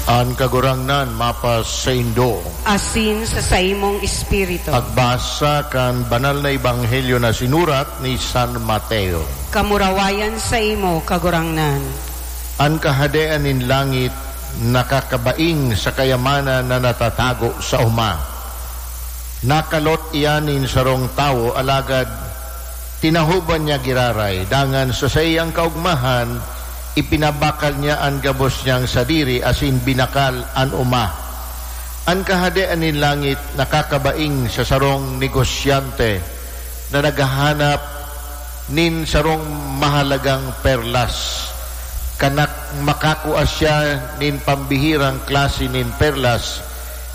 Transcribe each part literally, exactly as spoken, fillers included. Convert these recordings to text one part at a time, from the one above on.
An Kagurangnan mapasaindo. Asin sa saimong espiritu. Pagbasa kan Banal na Ebanghelyo na sinurat ni San Mateo. Kamurawayan saimo, Kagurangnan. An Kahadean nin langit nakakabaing sa kayamanan na natatago sa oma. Nakalot iyan nin sarong tawo, alagad tinahoban niya giraray, dangan sa saiyang kaogmahan, ipinabakal niya an gabos niyang sadiri asin binakal an oma. An Kahadean nin langit nakakabaing sa sarong negosyante na naghahanap nin sarong mahalagang perlas. Kan nak-, makakua siya nin pambihirang klase nin perlas,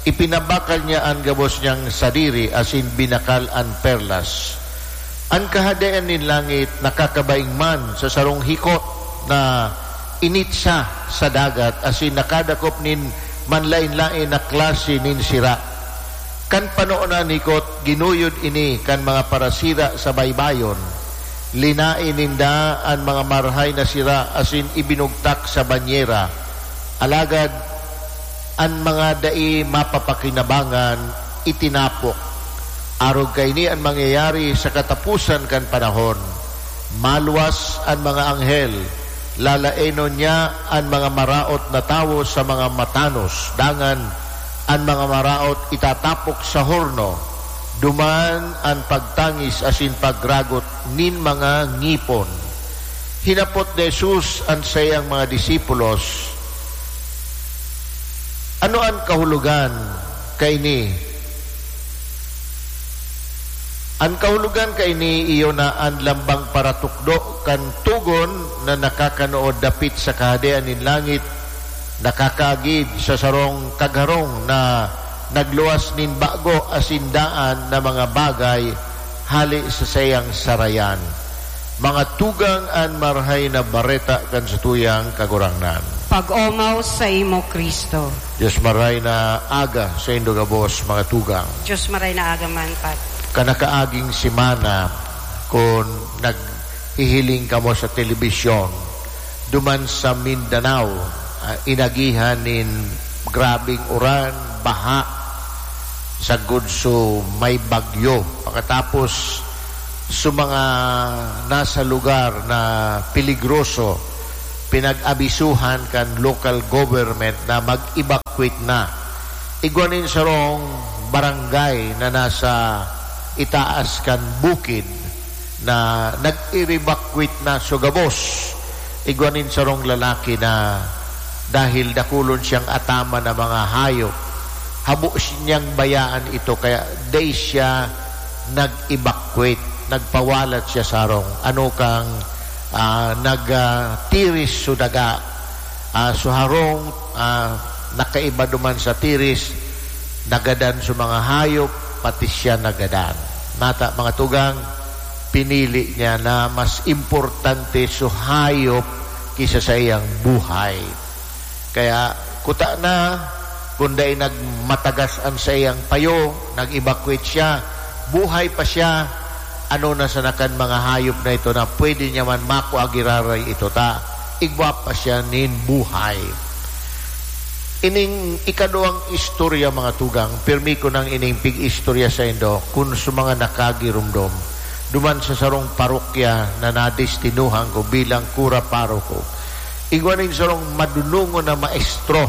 ipinabakal niya an gabos niyang sadiri asin binakal an perlas. An Kahadean nin langit nakakabaing man sa sarong hikot na initsa sa dagat asin nakadakop nin manlaen-laen na klase nin sira. Kan panoon na an hikot, ginuyod ini kan mga parasira sa baybayon. Linaen ninda an mga marahay na sira asin ibinugtak sa banyera. Alagad an mga dai mapapakinabangan itinapok. Arog kaini an mangyayari sa kataposan kan panahon. Maluwas an mga anghel, lalaenon niya an mga maraot na tawo sa mga matanos, dangan an mga maraot itatapok sa horno. Duman an pagtangis asin pagragot nin mga ngipon. Hinapot ni Jesus an saiyang mga disipulos, "Ano an kahulogan kaini?" An kahulogan kaini iyo na an lambang paratukdo kan togon na nakakanood dapit sa Kahadean nin langit, nakakaagid sa sarong kagharong na nagluwas nin bago asin daan na mga bagay hale sa saiyang sarayan. Mga tugang, an Marahay na Bareta kan satuyang Kagurangnan. Pag-omaw saimo, Cristo. Dios Marahay na Aga saindo gabos, mga tugang. Dios Marahay na Aga man, Pad. Kan nakaaging semana, kun naghihiling kamo sa telebisyon, duman sa Mindanao, ah, inagihan nin grabeng uran, baha, sagkod su may bagyo. Pakatapos, su mga nasa lugar na peligroso, pinag-abisuhan kan local government na mag-evacuate na. Igwa nin sarong barangay na nasa itaas kan bukid na nag-evacuate na su gabos. Igwa nin sarong lalaki na dahil dakulon siyang ataman na mga hayop, habo niyang bayaan ito, kaya dai siya nag-evacuate, nagpawalat siya sa harong. Ano kang, ah, nag, ah, tiris su daga, ah, su harong, ah, nakaiba duman sa tiris, nagadan su mga hayop, pati siya nagadan. Nata, mga tugang, pinili niya na mas importante su hayop ki sa saiyang buhay. Kaya, kuta na, kun dai nagmatagas an saiyang payo, nag-evacuate siya, buhay pa siya, ano na sana kan mga hayop na ito na pwede niya man makua giraray ito ta igwa pa siya nin buhay. Ining ikaduwang istorya, mga tugang, pirmi ko nang ining pig-istorya saindo kun sa mga nakagiromdom, duman sa sarong parokya na nadestinuhan ko bilang kura paroko. Igwa nin sarong madunongon na maestro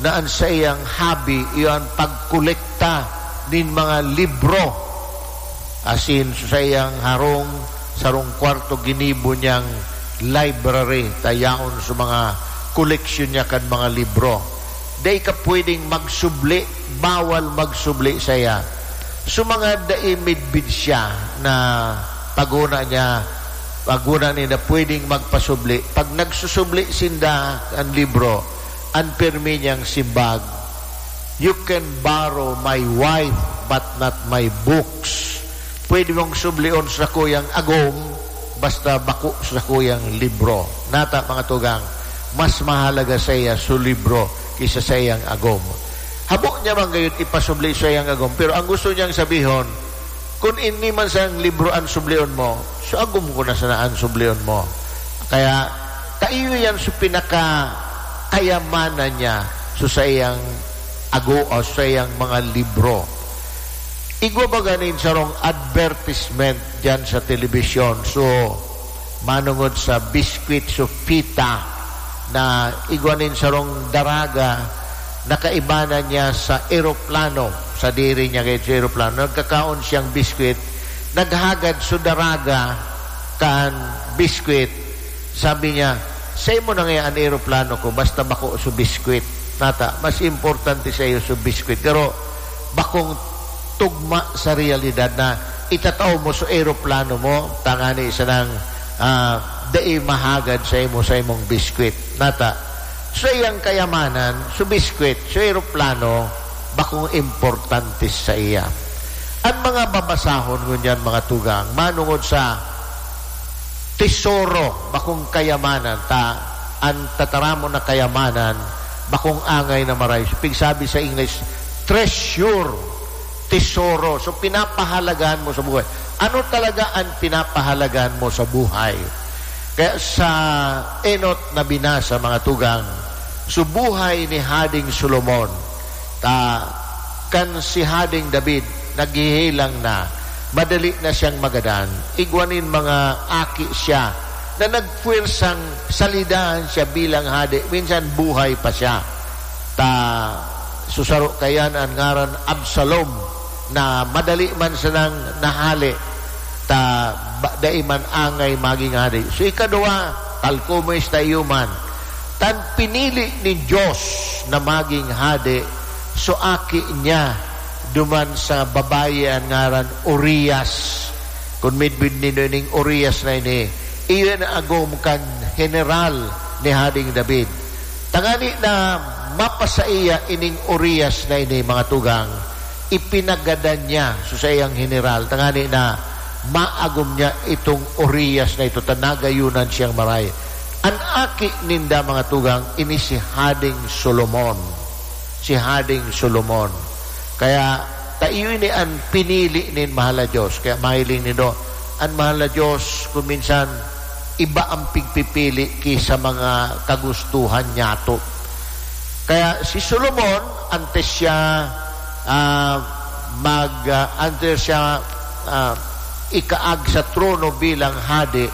na an saiyang hobby iyo an pagkolekta nin mga libro. Asin sa saiyang harong, sarong kwarto, ginibo niyang library, ta yaon sa mga koleksyon niya kan mga libro. Dai ka pwedeng magsubli, bawal magsubli saiya. Sa mga dai midbid siya na paghona niya, paghona niya na pwedeng magpasubli, pag nagsusubli sinda kan libro, an pirmi niyang simbag, "You can borrow my wife, but not my books." Pwede mong sublion sa sakuyang agom, basta bako sa sakuyang libro. Nata, mga tugang, mas mahalaga saiya su libro ki sa saiyang agom. Habo niya man gayod ipasubli sa saiyang agom, pero ang gusto niyang sabihon, kun ini man sang libro an sublion mo, su agom ko na sana an sublion mo. Kaya, ta iyo yan su pinakakayamanan niya, so saiyang ago o saiyang mga libro. Igwa baga nin sarong advertisement diyan sa telebisyon. So, manongod sa biskwit, so pita, na igwa nin sarong daraga na kaibanan niya sa eroplano. Sadiri niya kayo sa eroplano. Nagkakaon siyang biskwit. Naghagad so daraga kan biskwit. Sabi niya, "Saimo na ngaya an eroplano ko, basta bako so biskwit." Nata, mas importante saiyo so biskwit. Pero bakong tugma sa realidad na itatao mo so eroplano mo, tangani sanang, ah, dai mahagad saimo, saimong biskwit. Nata, saiyang kayamanan, so biskwit, so eroplano, bakong importante saiya. An mga babasahon ngunyan, mga tugang, manongod sa tesoro, bakong kayamanan, ta an tataramon na kayamanan, bakong angay na maray. So, pigsabi sa English, treasure, tesoro. So, pinapahalagahan mo sa buhay. Ano talaga an pinapahalagahan mo sa buhay? Kaya sa enot na binasa, mga tugang, so buhay ni Hading Solomon, ta kan si Hading David naghihilang na, madali na siyang magadan. Igwa nin mga aki siya na nagpuwersang salidahan siya bilang hade. Minsan buhay pa siya. Ta, so saro kayan an ngaran Absalom, na madali man sanang nahale, ta ba, dai man angay magin hade. So, ikaduwa, talkumoy sa iyo man. Tan pinili nin Dios na magin hade, so aki niya, duman sa babayi an ngaran Urias. Kun midbid nindo ining Urias na ini, iyo an agom kan heneral ni Hading David. Tangani na mapasaiya ining Urias na ini, mga tugang, ipinagadan niya so saiyang heneral, tangani na maagom niya itong Urias na ito, ta nagayunan siyang maray. An aki ninda, mga tugang, ini si Hading Solomon. Si Hading Solomon. Kaya, ta iyo ini an pinili nin mahal na Diyos. Kaya mahiling nindo, an mahal na Diyos, kung minsan, iba ang pigpipili ki sa mga kagustuhan niyato. Kaya si Solomon, antes siya, ah, mag, ah, antes siya, ah, ikaag sa trono bilang hade,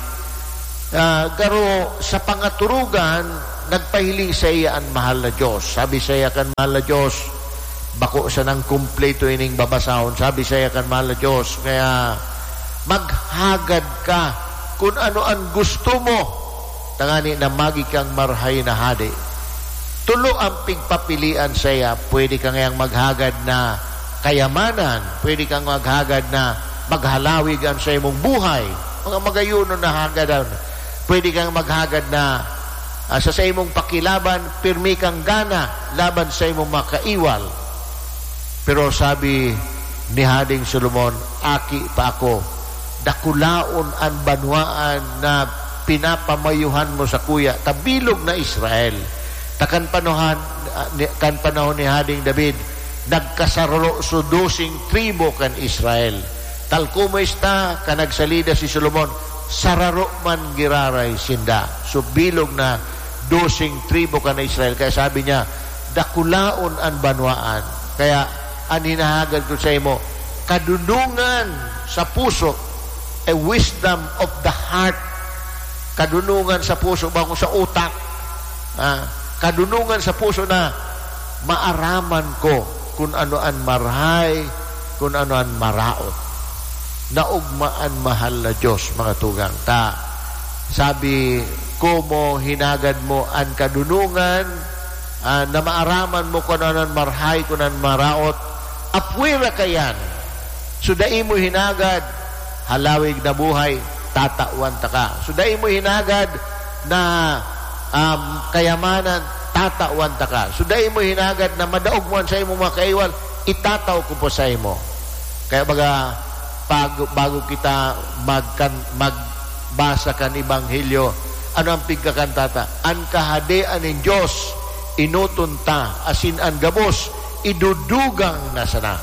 ah, garo sa pangaturugan, nagpahiling saiya an mahal na Diyos. Sabi saiya kan mahal na Diyos, bako sanang kumpleto ining babasahon. Sabi saiya kan mahal na Diyos, kaya maghagad ka kun ano an gusto mo, tangani na magi kang marahay na hade. Tolo ang pigpapilian saiya. Pwede ka ngayang maghagad na kayamanan, pwede kang maghagad na maghalawig an saimong buhay, mga magayonon na hagadan. Pwede kang maghagad na, ah, sa saimong pakilaban, pirmi kang gana laban sa imong mga kaiwal. Pero sabi ni Hading Solomon, "Aki pa ako, dakulaon an banwaan na pinapamayuhan mo sakuya, ta bilog na Israel." Ta kan panahan, ah, ni, kan panahon ni Hading David, nagkasararo so doseng tribo kan Israel. Talkumoy esta, kan nagsalida si Solomon, sararo man giraray sinda. So, bilog na doseng tribo kan Israel. Kaya sabi niya, "Dakulaon an banwaan." Kaya, an hinahagad ko saimo, kadunongan sa puso, a wisdom of the heart. Kadunongan sa puso, bako sa utak. Ah, kadunongan sa puso na maaraman ko kun ano an marahay, kun ano an maraot. Naogma an mahal na Diyos, mga tugang. Ta, sabi, "Komo hinagad mo an kadunongan, ah, na maaraman mo kun ano an marahay, kun an maraot, apwera kaiyan." So, dai mo hinagad halawig na buhay, tatawan taka. So, dai mo hinagad na, um, kayamanan, tatawan taka. So, dai mo hinagad na madaog mo an saimong mga kaiwal, itataw ko po saimo. Kaya baga, pag, bago kita magkan-, magbasa kan Ebanghelyo, ano ang pigkakantata? An Kahadean nin Diyos, enoton ta, asin an gabos, idudugang na sana.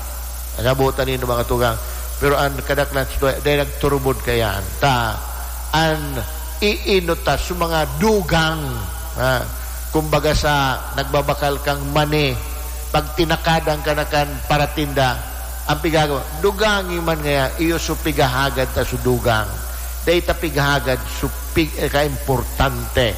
Nasabotan nindo, mga tugang. Pero an kadaklan sa tuya, dai nagturubod kaiyan. Ta, an iinot ta sa mga dugang, ha? Kumbaga sa nagbabakal kang mani, pag tinakadan ka na kan paratinda, ang pigagawa, dugangi man ngaya, iyo so pigahagad ta so dugang. Dai ta pighagad so pig-, eh, kaimportante.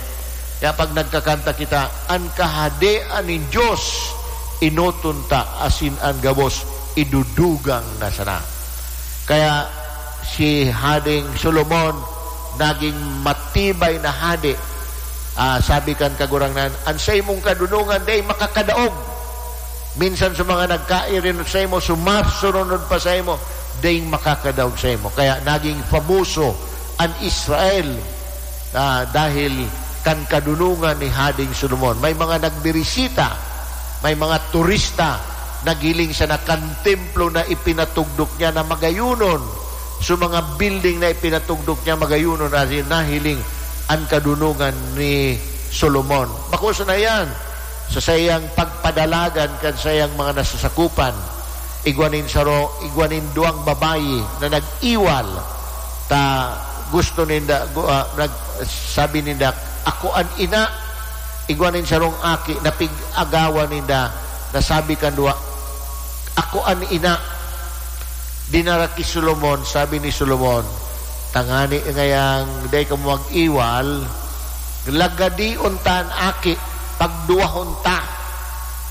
Kaya pag nagkakanta kita, "An Kahadean nin Dios, enoton ta, asin an gabos, idudugang na sana." Kaya si Hading Solomon, naging matibay na hade. Ah, sabi kan Kagurangnan, "An saimong kadunongan dai makakadaog." Minsan sa mga nagkairinot saimo, sumasurunod pa saimo, daing makakadaog saimo. Kaya naging famoso an Israel, ah, dahil kan kadunongan ni Hading Solomon. May mga nagbirisita, may mga turista, naghiling sana kan templo na ipinatugdok niya na magayonon. So, mga building na ipinatugdok niya magayonon, asin nahiling an kadunongan ni Solomon. Bako sana yan, sa saiyang pagpadalagan kan saiyang mga nasasakupan, igwa nin saro, igwa nin duwang babayi na nag-iwal, ta gusto ninda, gu-, ah, nag-, sabi ninda, "Ako an ina." Igwa nin sarong aki na pig-agawan ninda, na sabi kan duwa, "Ako an ina." Dinara ki Solomon, sabi ni Solomon, "Tangani ngayang dai kamo mag-iwal, lagadion ta an aki, pagduwahon ta."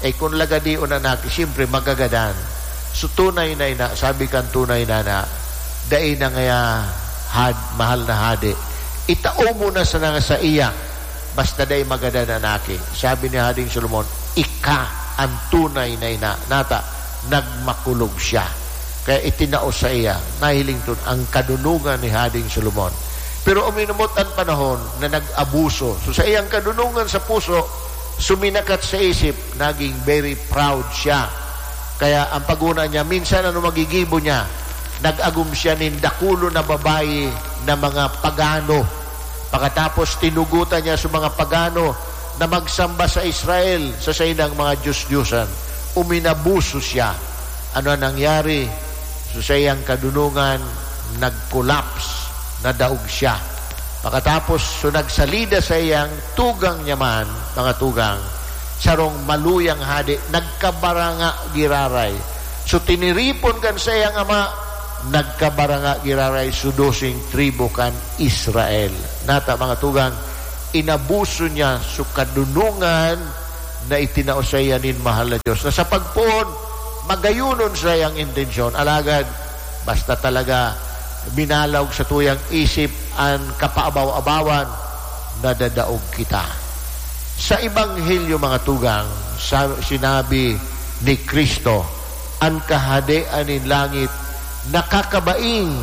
Eh, kun lagadion an aki, siyempre, magagadan. So, tunay na ina, sabi kan tunay na ina, "Dai na ngaya, had-, mahal na hade. Itao mo na sana sa iya." Basta dai magadan an aki. Sabi ni Hading Solomon, "Ika an tunay na ina." Nata, nagmakulog siya. Kaya itinao saiya, nahiling ton an kadunongan ni Hading Solomon. Pero uminumot an panahon na nag-abuso. So, saiyang kadunongan sa puso, suminakat sa isip, naging very proud siya. Kaya ang paguna niya, minsan ano magigibo niya, nag-agom siya nin dakulon na babayi na mga pagano. Pakatapos, tinugotan niya sa mga pagano na magsamba sa Israel, sa saindang mga dios-diosan. Uminabuso siya. Ano ang nangyari? So, saiyang kadunongan, nag-collapse, nadaog siya. Pakatapos, so nagsalida saiyang tugang niya man, mga tugang, sarong maluyang hade, nagkabaranga giraray. So, tiniripon kan saiyang ama, nagkabaranga giraray, so doseng tribu kan Israel. Nata, mga tugang, inabuso niya so kadunongan na itinao saiya nin mahal na Dios, na sa pagpoon, magayonon saiyang intensyon. Alagad, basta talaga minalaog sa tuyang isip an kapaabaw-abawan, nadadaog kita. Sa Ebanghelyo, mga tugang, sa, sinabi ni Cristo, an Kahadean nin langit nakakabaing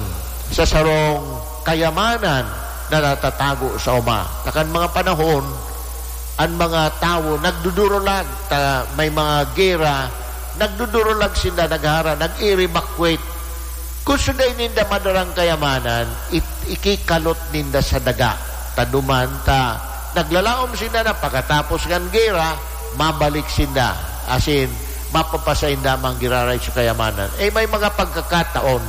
sa sarong kayamanan na natatago sa oma. Sa kan mga panahon, an mga tawo nagdudurulag, ta may mga gera, nagdudurulag sinda, naghara, nag-evacuate. Kun sundai ninda madarang kayamanan, it-, ikikalot ninda sa daga. Taduman ta, naglalaom sinda na pagkatapos kan gera, mabalik sinda. Asin, mapapasainda man giraray sa kayamanan. Eh, may mga pagkakataon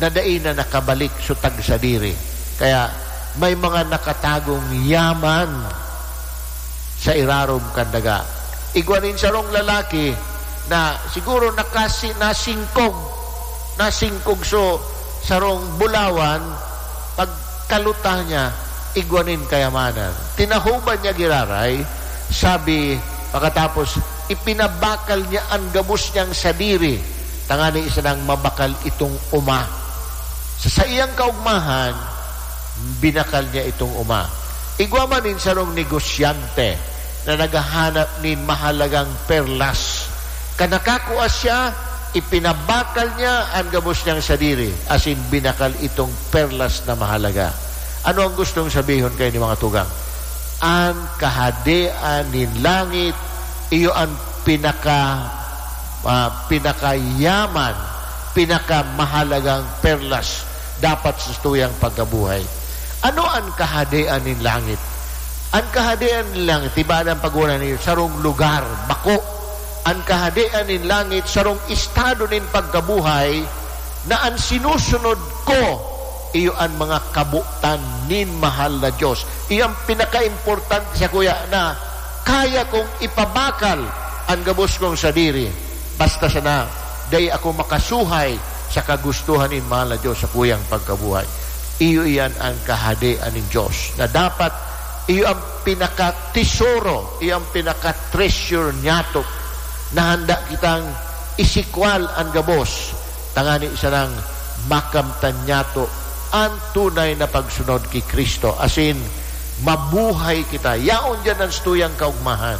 na dai na nakabalik so tagsadiri. Kaya, may mga nakatagong yaman sa irarom kan daga. Igwa nin sarong lalaki na siguro nakasi-, nasingkog, nasingkog so sarong bulawan, pagkaluta niya, igwa nin kayamanan. Tinahoban niya giraray, sabi, pakatapos, ipinabakal niya an gabos niyang sadiri, tangani sanang mabakal itong oma. Sa saiyang kaugmahan, binakal niya itong oma. Igwa man nin sarong negosyante na naghahanap nin mahalagang perlas. Kan nakakua siya, ipinabakal niya an gabos niyang sadiri, asin binakal itong perlas na mahalaga. Ano ang gustong sabihon kaini, mga tugang? An Kahadean nin langit, iyo an pinaka, ah, pinakayaman, pinakamahalagang perlas dapat sa tuyang pagkabuhay. Ano an Kahadean nin langit? An Kahadean nin langit, iba na ang pag-una niyo, sarong lugar, bako. An Kahadean nin langit, sarong estado nin pagkabuhay na an sinusunod ko, iyo an mga kabotan nin mahal na Dios. Iyo an pinakaimportante sa kuya na Kaya kong ipabakal an gabos kong sadiri, basta sana dai ako makasuhay sa kagustohan nin mahal na Dios sa kuyang pagkabuhay. Iyo iyan ang kahadean nin Dios, na dapat iyo ang pinakatesoro, iyo ang pinaka-treasure niyato, na handa kitang isikwal an gabos, tangani sanang makamtan niyato an tunay na pagsunod ki Cristo, asin mabuhay kita. Yaon diyan an satuyang kaogmahan.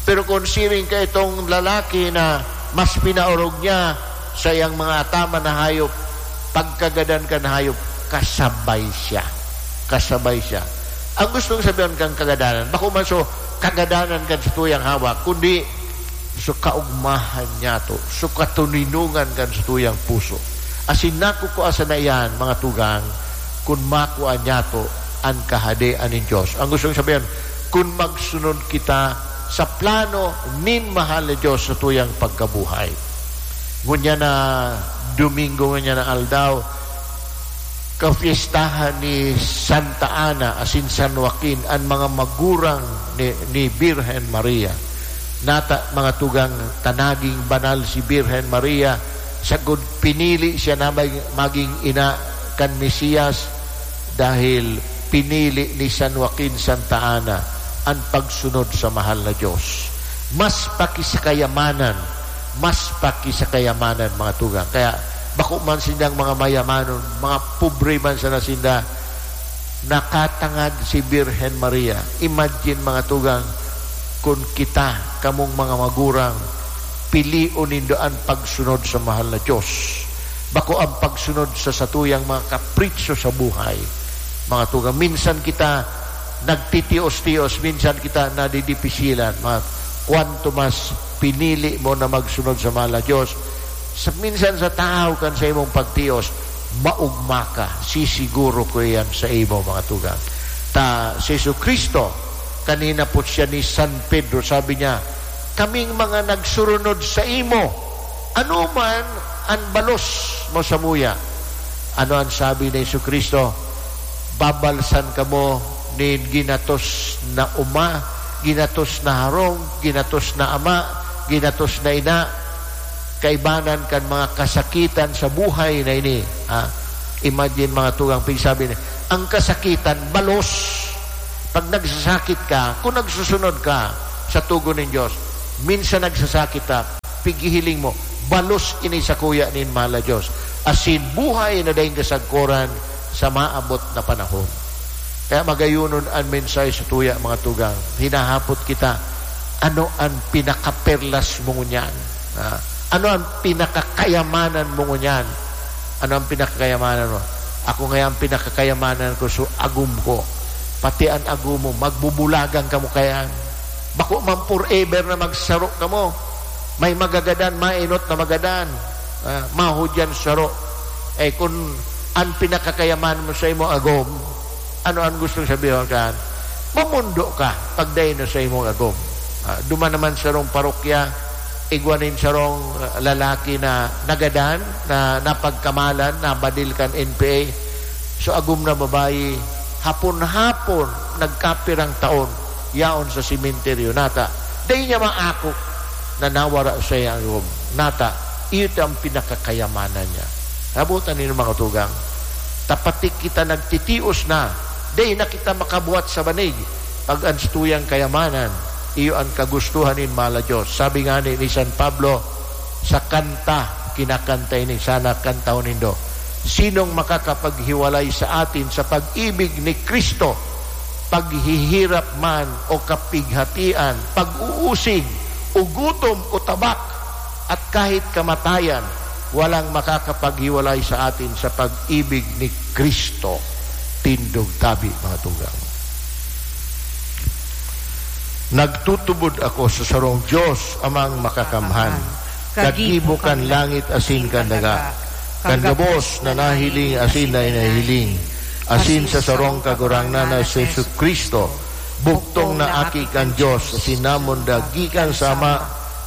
Pero kun siring ka itong lalaki na mas pinaorog niya sa iyang mga ataman na hayop, pagkagadan kan hayop, kasabay siya. Kasabay siya. Ang gustong sabihin kan kagadanan, bako man so kagadanan kan satuyang hawak, kundi so kaogmahan niyato, so katoninongan kan satuyang puso. Asin nakukua sana iyan, mga tugang, kun makua niyato an Kahadean nin Dios. Ang gustong sabihin, kun magsunod kita sa plano nin mahal na Dios sa tuyang pagkabuhay. Ngunyan na Domingo, ngunyan na aldaw, kafiestahan ni Santa Ana asin San Joaquin, an mga magurang ni, ni Birhen Maria. Nata, mga tugang, ta naging banal si Birhen Maria, sagkod pinili siya na mag-, maging ina kan Mesiyas, dahil pinili ni San Joaquin Santa Ana an pagsunod sa mahal na Dios. Mas pa ki sa kayamanan, mas pa ki sa kayamanan, mga tugang. Kaya bako man sindang mga mayamanon, mga pobre man sana sinda, nakatangad si Birhen Maria. Imagine, mga tugang, kun kita, kamong mga magurang, pilion nindo an pagsunod sa mahal na Dios, bako ang pagsunod sa satuyang mga kapritso sa buhay. Mga tugang, minsan kita nagtitios-tios, minsan kita nadidipisilan. Mga, kwanto mas pinili mo na magsunod sa mahal na Dios, sa, minsan sa tahaw kan sa imong pagtios, maogma ka, sisiguro ko iyan sa imo, mga tugang. Ta si Jesu-Cristo, kanina po siya ni San Pedro, sabi niya, "Kaming mga nagsurunod sa imo, ano man an balos mo samuya?" Ano an sabi ni Jesu-Cristo? "Babalsan kamo nin ginatos na oma, ginatos na harong, ginatos na ama, ginatos na ina, kaibanan kan mga kasakitan sa buhay na ini." Ha? Imagine, mga tugang, pigsabi ni, ang kasakitan, balos. Pag nagsasakit ka, kung nagsusunod ka sa tugon nin Dios, minsan nagsasakit ka, pighihiling mo, balos ini sakuya nin mahal na Dios. Asin buhay na daing kasagkoran sa maabot na panahon. Kaya magayonon an mensahe sa tuya, mga tugang. Hinahapot kita, ano an pinakaperlas mo ngunyan? Ha? Ano an pinakakayamanan mo ngunyan? Ano an pinakakayamanan mo? Ako ngaya, an pinakakayamanan ko, so agom ko. Pati an agom mo, magbubulagan kamo kaiyan. Bako man forever na magsaro kamo. May magagadan, mainot na magadan. Ah, mahudyan saro. Eh, kun an pinakakayamanan mo sa imo agom, ano an gustong sabihon kan? Mamondo ka pag dai na sa imong agom. Ah, duman naman sarong parokya, igwa nin sarong, ah, lalaki na nagadan, na napagkamalan, nabadil kan N P A. So, agom na babayi, hapon-hapon, nagkapirang taon, yaon sa sementeryo. Nata, dai niya maako na nawara sa iyang agom. Nata, iyo ta an pinakakayamanan niya. Nabutan niyo, mga tugang? Ta pati kita nagtitios na, dai na kita makabuhat sa banig, pag an satuyang kayamanan, iyo an kagustuhan nin mahal na Dios. Sabi ngani ni San Pablo sa kanta, kinakanta ini, sana kantahon nindo, "Sinong makakapaghiwalay sa atin sa pag-ibig ni Cristo? Paghihirap man o kapighatian, pag-uusig o gutom o tabak, at kahit kamatayan, walang makakapaghiwalay sa atin sa pag-ibig ni Cristo." Tindog tabi, mga tugang. Nagtutubod ako sa sarong Dios, Amang Makakamhan, kagibo kan langit asin kan daga, kan gabos na nahiling asin na inahiling, asin sa sarong Kagurangnan na si Jesu-Cristo, bugtong na Aki kan Dios, asin namonda gikan sa Ama,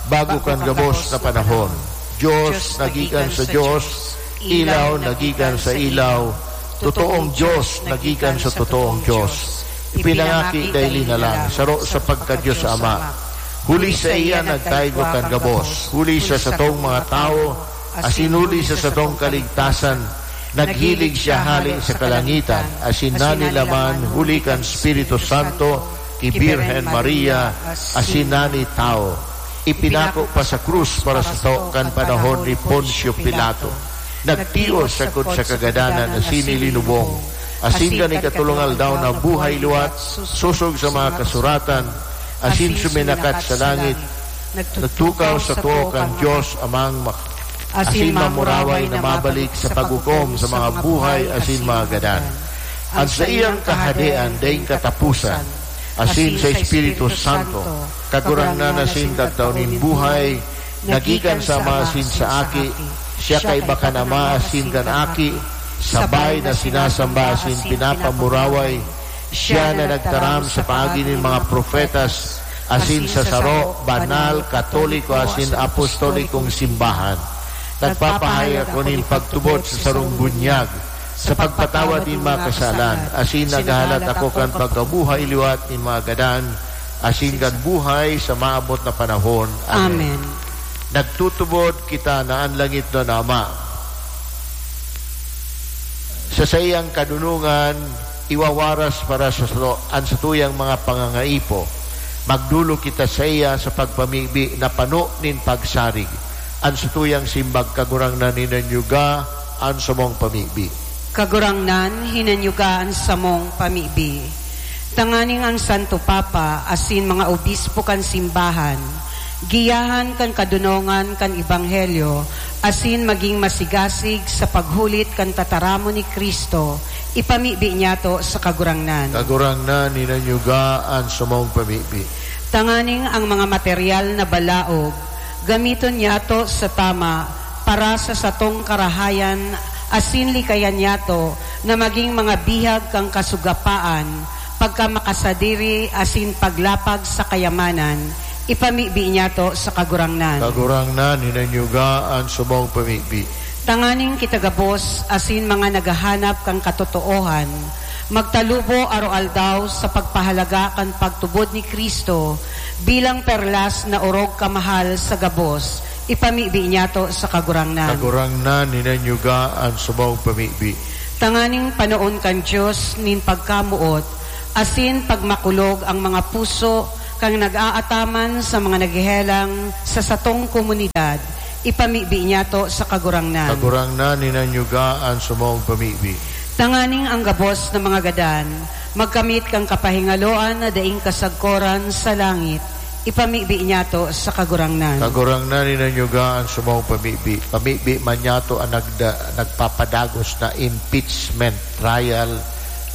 bago kan gabos na panahon. Dios na gikan sa Dios, ilaw na gikan sa ilaw, totoong Dios na gikan sa totoong Dios. Ipinangaki daili na lang, saro sa pagka-Dios Ama. Huli saiya nagtaygo kan gabos, huli sa satong mga tawo, asin huli sa satong kaligtasan, naghilig siya hale sa kalangitan, asin nanilaman huli kan Espiritu Santo, ki Birhen Maria, asin nani tawo. Ipinako pa sa krus para sato kan panahon ni Poncio Pilato. Nagtios sagkod sa kagadanan asin ilinubong. Asin kan ikatolong aldaw nabuhay liwat, sosog sa mga kasuratan, asin suminakat sa langit. Nagtukaw sa too kan Dios Amang mak-, asin mamuraway na mabalik sa paghukom sa mga buhay asin mga gadan. An saiyang kahadean daing kataposan, asin sa Espiritu Santo, Kagurangnan asin Kagtao nin buhay, nagikan sa Ama asin sa Aki, siya kaiba kan Ama asin kan Aki, sabay na sinasamba asin pinapamuraway, siya na nagtaram sa paagi nin mga propetas, asin sa saro, banal, katoliko asin apostolikong simbahan. Nagpapahayag ako nin pagtubod sa sarong bunyag, sa pagpatawad nin mga kasalan, asin naghahalat ako kan pagkabuhay liwat nin mga gadan, asin kan buhay sa maabot na panahon. Amen. Amen. Nagtutubod kita na an langitnon na Ama, sa saiyang kadonongan, iwawaras para sa sato an satuyang mga pangangaipo. Magdolok kita saiya sa pagpamibi na pano nin pagsarig. An satuyang simbag, Kagurangnan, hinanyuga an samong pamibi. Kagurangnan, hinanyuga an samong pamibi. Tanganing ang Santo Papa asin mga obispo kan simbahan, giyahan kan kadonongan kan ebanghelyo, asin magin masigasig sa paghulit kan tataramon ni Cristo, ipamibi niyato sa Kagurangnan. Kagurangnan, hinanyuga an samong pamibi. Tanganing ang mga material na balaog, gamiton niyato sa tama para sa satong karahayan, asin likayan niyato na magin mga bihag kan kasugapaan, pagkamakasadiri asin paglapag sa kayamanan, ipamibi niyato sa Kagurangnan. Kagurangnan, hinanyuga an samong pamibi. Tanganing kita gabos asin mga naghahanap kan katotoohan, magtalubo aroaldaw sa pagpahalaga kan pagtubod ni Cristo bilang perlas na orog kamahal sa gabos, ipamibi niyato sa Kagurangnan. Kagurangnan, hinanyuga an samong pamibi. Tanganing panoon kan Dios nin pagkamoot asin pagmakulog ang mga puso kan nag-aataman sa mga naghehelang sa satong komunidad, ipamibi niyato sa Kagurangnan. Kagurangnan, hinanyuga an samong pamibi. Tanganing ang gabos na mga gadan magkamit kan kapahingaloan na daing kasagkoran sa langit, ipamibi niyato sa Kagurangnan. Kagurangnan, hinanyuga an samong pamibi. Pamibi man niyato an nagda-, nagpapadagos na impeachment trial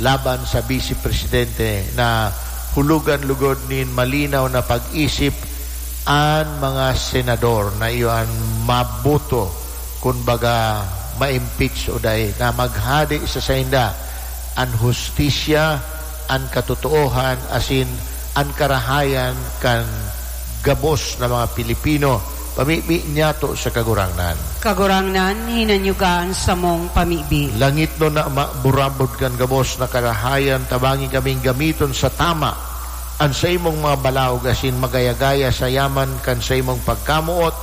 laban sa Vice Presidente, na hulugan lugod nin malinaw na pag-isip an mga senador na iyo an maboto, kun baga, ma-impeach o dai, na maghade sa sainda an hustisya, an katotoohan, asin an karahayan kan gabos na mga Pilipino, pamibi niyato sa Kagurangnan. Kagurangnan, hinanyuga an samong pamibi. Langitnon na Ama, burabod kan gabos na karahayan, tabangi kaming gamiton sa tama an saimong mga balaog asin magaya-gaya sa yaman kan saimong pagkamoot,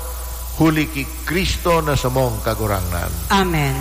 huli ki Cristo na samong Kagurangnan. Amen.